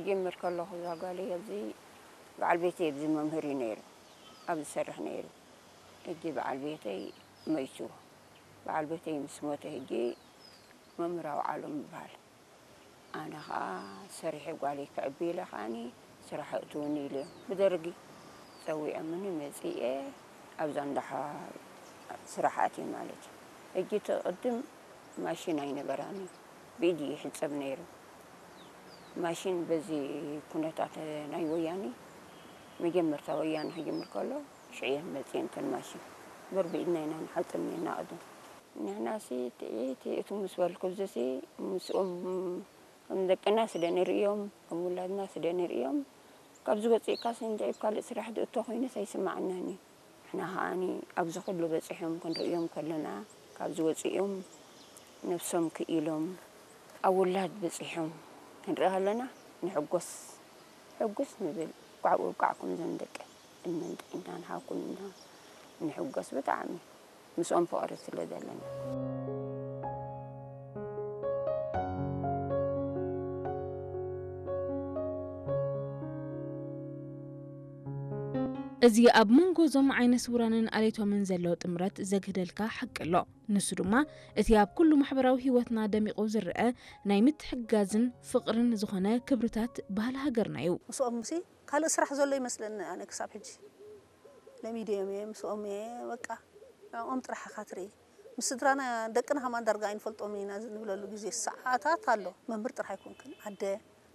ጀምር ከለኹ እዛ ጓለይ ኣብዚ በዓል ቤተይ ኣብዚ መምህር እዩ ነይሩ፣ ኣብ ዝሰርሕ ነይሩ። ሕጂ በዓል ቤተይ መይቱ። በዓል ቤተይ ምስ ሞተ ሕጂ መምህር ኣውዓሎም ይበሃል። ኣነ ኸዓ ሰሪሐ ጓለይ ከዕቢ ኢለ ኸዓኒ ስራሕ እእትውኒ ኢለ ብደርጊ ጸዊዖምኒ መጺኤ ኣብዛ እንዳሓ ስራሕ ኣትየ ማለት እዩ። ሕጂ እቲ ቅድም ማሽን ኣይነበራን እዩ። ብኢድ እዩ ይሕጸብ ነይሩ። ማሽን በዚ ኩነታት ናይ ወያኒ መጀመርታ ወያኒ ክጅምር ከሎ ሽዕየን መጺኤን እተን ማሽን። እምበር ብኢድና ኢና ንሓጽብ ነርና ቅድም። ንሕናሲ ጥዒት እቱ ምስ በልኩ እዚሲ ምስኦም ከም ደቅና ስለ ንርእዮም፣ ከም ውላድና ስለ ንርእዮም፣ ካብዚ ወጺእካስ እንታይ ኣብ ካልእ ስራሕ ዝእቶ ኮይኑስ ኣይስምዓናን እዩ። ንሕና ከኣኒ ኣብዚ ኩሉ በጺሖም ክንርእዮም ከለና፣ ካብዚ ወጺኦም ነብሶም ክኢሎም ኣብ ውላድ በጺሖም ክንርኢ ከለና ንሕጎስ። ሕጉስ ንብል። እንቋዕ ኣብቃዕኩም እዞም ደቂ ዕድመን ጥዕናን ሃብኩም ኢና ንሕጎስ ብጣዕሚ ምስኦም ፍቕሪ ስለ ዘለና። እዚ ኣብ መንጎ እዞም ዓይነ ስውራንን ኣሌቶምን ዘሎ ጥምረት ዘግህደልካ ሓቂ ኣሎ። ንሱ ድማ እቲ ኣብ ኩሉ ማሕበራዊ ህይወትና ደሚቑ ዝረኣ ናይ ምትሕግጋዝን ፍቕርን ዝኾነ ክብርታት ባህሊ ሃገርና እዩ። ምስኦም ምሲ ካልእ ስራሕ ዘሎ ይመስለኒ ኣነ ክሳብ ሕጂ። ለሚደዮም እየ ምስኦም እየ በቃ ንዕኦም ጥራሕ ኢኻ ትርኢ። ምስ ስድራና ደቅና ከማን ዳርጋ ኣይንፈልጦምን ኢና ንብለሉ ግዜ ሰዓታት ኣሎ። መምህር ጥራሕ ኣይኮንክን ኣደ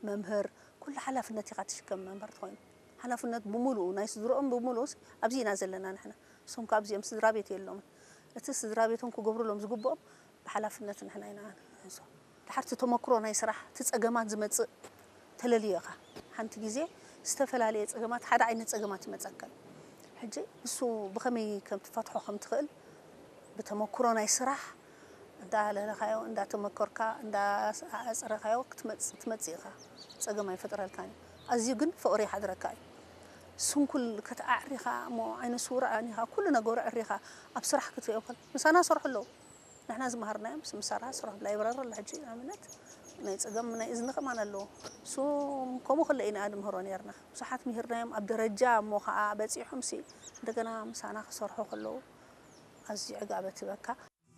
መምህር ኩሉ ሓላፍነት ኢኻ ትሽከም መምህር ትኾይኑ ሓላፍነት ብምሉኡ ናይ ስድርኦም ብምሉኡስ ኣብዚ ኢና ዘለና ንሕና እሶም ካብ እዚኦም ስድራ ቤት የሎምን እቲ ስድራ ቤቶም ክገብሩሎም ዝግብኦም ብሓላፍነት ንሕና ኢና ንሕዞ ድሓር እቲ ተመክሮ ናይ ስራሕ እቲ ጸገማት ዝመጽእ ተለልዮ ኢኻ ሓንቲ ግዜ ዝተፈላለየ ጸገማት ሓደ ዓይነት ጸገማት ይመጸካ እዩ ሕጂ እሱ ብኸመይ ከም ትፈትሖ ከም ትኽእል ብተመክሮ ናይ ስራሕ እንዳለለኻዮ እንዳተመከርካ እንዳኣፅረኻዮ ክትመፅእ ኢኻ ፀገም ኣይፈጥረልካን እዩ ኣዝዩ ግን ፍቕሪ ይሓድረካ እዩ ስንኩል ከተኣዕሪኻ እሞ ዓይነ ስውር ኣኒኻ ኩሉ ነገሩ ዕሪኻ ኣብ ስራሕ ክትሪኦ ከል ምሳና ሰርሑ ኣለዉ ንሕና ዝመሃርናዮም ምስ ምሳራ ስራሕ ላይብረሪ ኣሎ ሕጂ ኣብነት ናይ ፀገም ናይ እዝኒ ከማን ኣለዎ እሱም ከምኡ ከለ ኢና ንምህሮ ነርና ብዙሓት ምሂርናዮም ኣብ ደረጃ እሞ ከዓ በፂሖም ሲ እንደገና ምሳና ክሰርሑ ከለዉ ኣዝዩ ዕጋበት ህበካ